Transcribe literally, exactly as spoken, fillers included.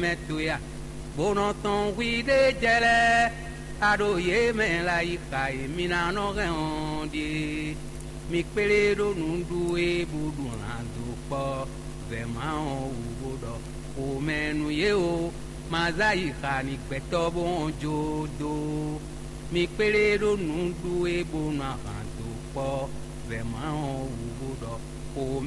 mɛ towe a? Bó nɔ tɔn hwi ɖé jɛ lɛ́ɛ, a ɖo yě mɛ la yi xa e mi ná nɔ hɛn ɔ́ ɖíe. Mi kplé ɖó nǔɖuɖu e bó ɖu lan dó kpɔ́ vɛ̌ma ɔ́ wú bó ɖɔ xomɛ nú yě o, ma zá yi xa n'i gbɛtɔ́ bó hɔn jó dó. Mi kplé ɖó nǔɖuɖu e bó nɔ ahan dó kpɔ́ vɛ̌ma ɔ́ wú bó ɖɔ xomɛ